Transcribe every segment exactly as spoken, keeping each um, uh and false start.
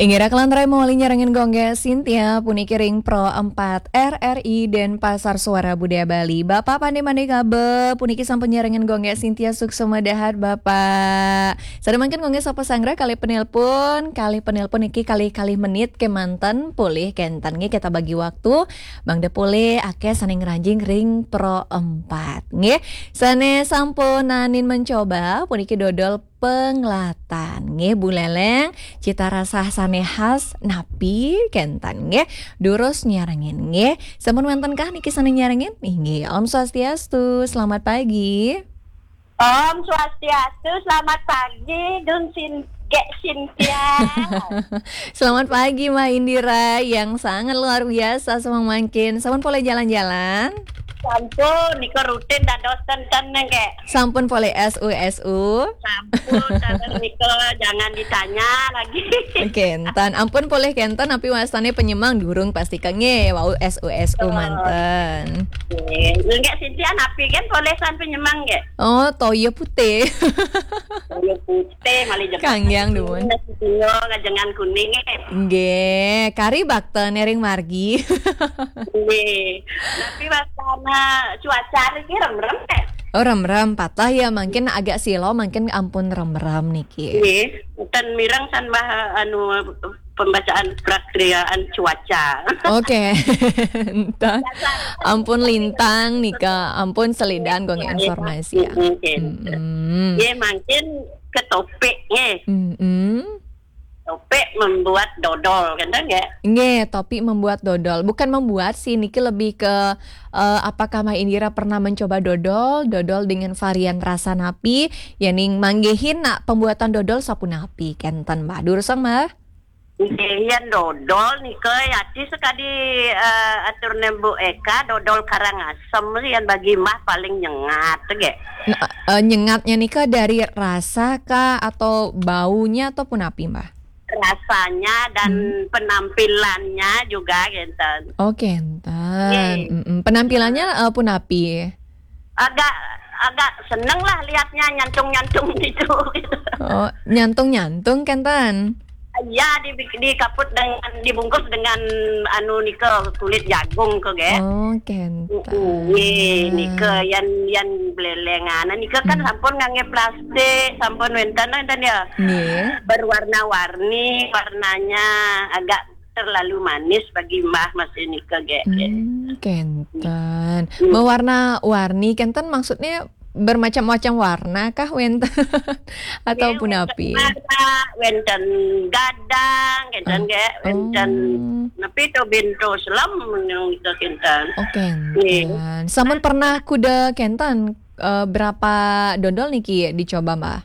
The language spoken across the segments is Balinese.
Inggih raka lan rai mawali nyarengin Gung Gé Sintia, puniki ring Pro empat R R I Denpasar Suara Budaya Bali. Bapak Pandé Mandé Kabe, puniki sampun nyarengin Gung Gé Sintia, suksma dahat, Bapak. Sané mangkin Gung Gé sapa sanggra kalih penelpon, kalih penelpon niki kalih-kalih menit kémanten, polih kénten nggih kita bagi waktu, mangda polih akéh sané ngranjing ring Pro empat nggih. Sané sampun naenin mencoba, puniki dodol penglatan. Nggih, Bu Leleng, cita rasa sané khas napi kénten nggih. Durus nyarengin nggih. Sampun wénten kah niki sané nyarengin? Inggih, Om Swastiastu, selamat pagi. Om Swastiastu, selamat pagi, Gung Sin-, Gé Sintia. Selamat pagi, Mbak Indira, yang sangat luar biasa semangkin. Sampun polih jalan-jalan? Sampun, nika rutin dados ten-ten nggih. Sampun polih S U S U? Sampun, ten nika jangan ditanya lagi. Kénten, ampun polih kénten, napi wastané penyemang durung pasti ka nggih, wau S U S U manten. Nggih, nggih Sintia napi kan polih san penyemang nggih. Oh, toya putih. Toya putih, malih jebak. Kanggiang dumun. Nasi singa ngajengan kuning nggih. Nggih, kari bakten ring margi. Nggih. Tapi wastana cuaca niki remrem nggih. Oh, remrem, patah ya, mungkin agak silo, mungkin ampun remrem niki. Nggih, ten mireng san bah anu pembacaan prakriaan cuaca. Oké. Entah. Ampun lintang nika, ampun selidan Gung informasi ya. Oké. Nggih, mungkin ke topik nggih. Topik membuat dodol, kan nggih? Nggih, topik membuat dodol. Bukan membuat sih, niki lebih ke, eh, apakah Mbak Indira pernah mencoba dodol, dodol dengan varian rasa napi, ya ning manggihin nak pembuatan dodol sapunapi, kénten, Mbah. Durusang, Mbah. Nggih, yén dodol nika yati sekadi, eh, aturné Bu Eka, dodol Karangasem yén bagi Mbah paling nyengat nggih. Nah, eh, nyengatnya nika dari rasa kah atau baunya atau punapi, Mbah? Rasanya dan penampilannya juga kénten. Oh, kénten. Nggih. Mm-mm. Penampilannya, eh, punapi? Agak, agak seneng lah lihatnya nyantung-nyantung gitu. Oh, nyantung-nyantung kénten? Ya, di, dikaput dengan, dibungkus dengan anu nika kulit jagung ke, nggih. Oh, kénten. Mm-mm, nggih, nika yén, yén blelengan nika kan sampun nganggé plastik, sampun wénten, wénten ya. Nggih. Berwarna-warni, warnanya agak terlalu manis bagi Mbah masih nika nggih. Hmm, kénten. Hmm. Mewarna-warni kénten maksudnya bermacam-macam warna kah wénten? Atau punapi? Nggih, wénten warna, wénten gadang, kénten nggih, wénten napi to bento selem nika kénten. Oh, kénten. Nggih. Sampun pernah kuda kénten, eh, berapa dodol niki dicoba, Mbah?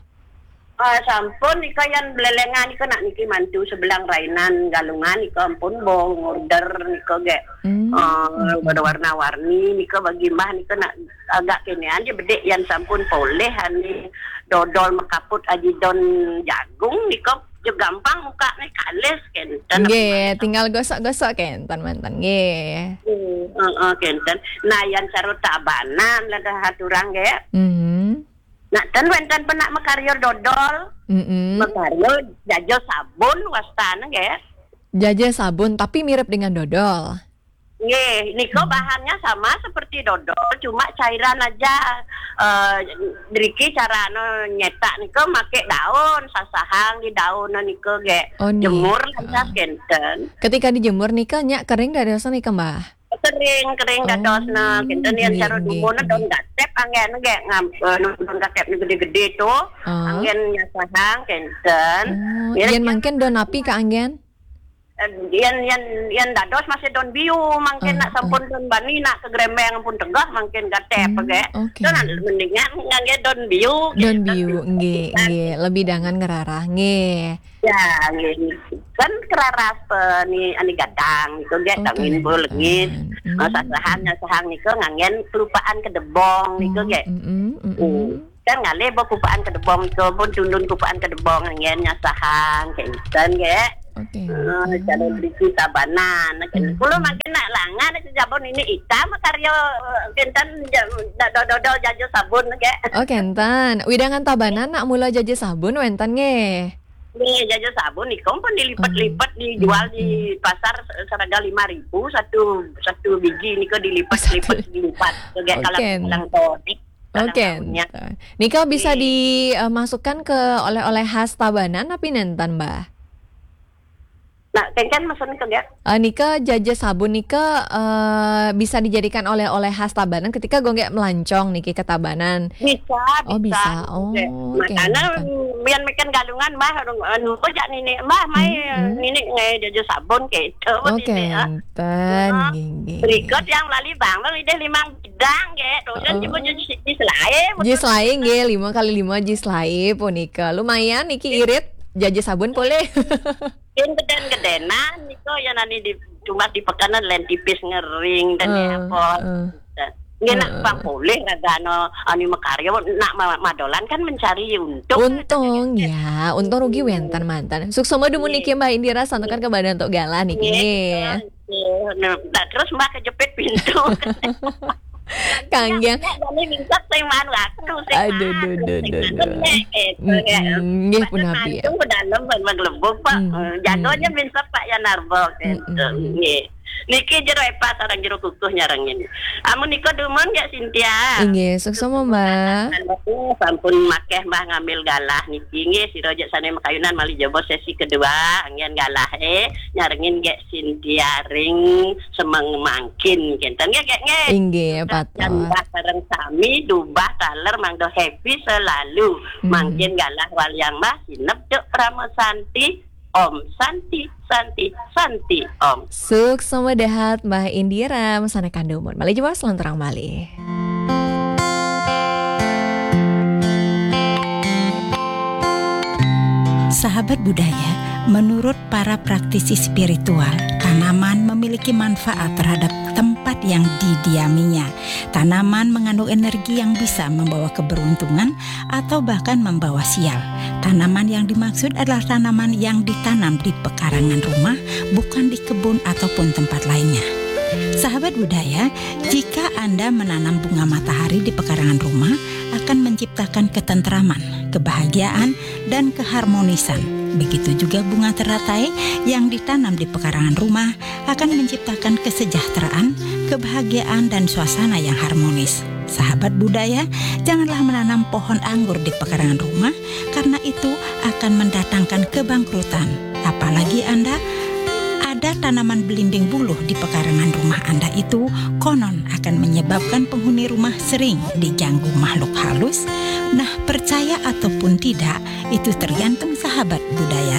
Ah, sampun nika yén blelengan nika nak niki mantu sebelang rainan Galungan nika ampun bo ngorder nika nggih. Hmm. Ah, warna-warni nika bagi Mbah nika nak agak kénéan ja bedik yén sampun polih ani dodol makaput aji don jagung nika ja gampang mukakné kalis kénten. Nggih, tinggal gosok-gosok kénten manten nggih. Hmm, heeh, kénten. Nah, yén cara Tabanan lah dah aturang nggih. Hmm. Nah, ten wénten penak makarya dodol. Mm-mm. Makarya jaja sabun wastana nggih. Jaja sabun, tapi mirip dengan dodol. Nggih, nika bahannya sama seperti dodol, cuma cairan aja. Eh, driki carane nyetak nika make daun, sasahang di daun nika nggih. Oh, nika. Jemur aja kénten. Ketika dijemur nika nya kering dados nika, Mbah? Kering, kering dadosna. Oh, kénten yén nggih, cara nggih, dumun nggih. Daun gatép anggén nggih, ngam-, eh, daun gatép ni gedé-gedé to. Ah. Anggén nyasahang kénten. Oh, yén mangkin daun napi kaanggén? Eh, yén, yén, yén dados masih daun biu, mangkin nak sampun daun bani nak ke grembeng pun tegah mangkin gatép nggih. Hmm, oké. Mendingan nganggé daun biu. Daun biu, nggih, nggih. Lebih dangan ngerarah, nggih. Ya, nggih. Kan keraras pe ni, ani gadang nika nggih, tangin bo lengit. Hmm. Sasahan, sasahan nika nganggén kelupaan kedebong nika nggih. Hmm, mm, mm, mm. Kan ngalih bo kupaan kedebong nika, pun tundun kupaan kedebong nganggén nyasahang, kénten nggih. Oké. Eh, cara berisi Tabanan. Kula mangkin nak langan, sabun ini hitam, karya, eh, kénten, ja-, dodol jaja sabun nggih. Oh, kénten. Widangan Tabanan nak mula jaja sabun wénten nggih. Nggih, jaja sabun niku pun dilipat-lipat, dijual di pasar seharga lima ribu satu, satu biji niku dilipat-lipat, dilipat. Kayak kalau, kalau todik, kalau Oke. daunnya. Nika bisa dimasukkan ke oleh-oleh khas Tabanan apa nenten, Mbah? Nah, kengken maksudnya ke, nggih? Eh, nika jaja sabun nika eh, bisa dijadikan oleh-oleh khas Tabanan ketika gue nggak melancong niki ke Tabanan. Bisa, Oh, bisa. Oh, Nggih. oke, Makanya oke. biar makan galungan, Mbah, anu, anu, jak nini, Mbah, mai Hmm, hmm. nini ngai jaja sabun gitu. Oke, Nini, ah. enten, Ah, nggih, nggih. Berikut yang lali bang, bang ide limang bidang, nggih. Terus Oh. juga jis, jis lain. Jis lain nggih, lima kali lima jis lain punika. Lumayan niki irit jaja sabun boleh. Yang geden-gedenan niku ya nani di cuma di pekanan lain tipis ngering dan Eh, apa. eh. Nggih nak Eh, pang boleh ragano anu makarya nak ma- madolan kan mencari untung. Untung ya, untung rugi wenten mantan. Suksma dumun niki Mbah Indira santukan ke badan tok galah niki nggih. Nggih. Nah, nah, terus Mbah kejepit pintu. Kangge. Nek jane minsek sing man waktu sing Aduh, man, duh, duh, sing duh, man, duh. nek, eh, Mm-mm, ya. nggih Pasal punapi ya. mantu ke dalam ban maglebok, Pak. Mm, Eh, jagonya mm. minsek Pak Yan Arbok gitu. Mm-mm. Nggih. Niki jero epa sareng jero kukuh nyarengin. Amun nika dumun nggih Cynthia. Inggih, suksma Mbah. Sampun makeh Mbah ngambil galah niki nggih sira jek sane makayunan malih jaba sesi kedua anggen galah eh nyarengin nggih Cynthia ring semeng mangkin kenten nggih nggih nggih. Inggih, Dan patut. Mbah sareng sami dubah taler mangdo happy selalu. Mhm. Mangkin galah waliang Mbah sinep cuk Prama Santi. Om Santi Santi Santi Om. Suksma dahat Mbah Indira mesana kandumun. Malih jaba selanturang malih. Sahabat budaya, menurut para praktisi spiritual, tanaman memiliki manfaat terhadap tempat yang didiaminya. Tanaman mengandung energi yang bisa membawa keberuntungan atau bahkan membawa sial. Tanaman yang dimaksud adalah tanaman yang ditanam di pekarangan rumah, bukan di kebun ataupun tempat lainnya. Sahabat budaya, jika Anda menanam bunga matahari di pekarangan rumah, akan menciptakan ketentraman, kebahagiaan, dan keharmonisan. Begitu juga bunga teratai yang ditanam di pekarangan rumah akan menciptakan kesejahteraan, kebahagiaan, dan suasana yang harmonis. Sahabat budaya, janganlah menanam pohon anggur di pekarangan rumah, karena itu akan mendatangkan kebangkrutan. Apalagi Anda ada tanaman belimbing buluh di pekarangan rumah Anda itu, konon akan menyebabkan penghuni rumah sering diganggu makhluk halus. Nah, percaya ataupun tidak, itu tergantung sahabat budaya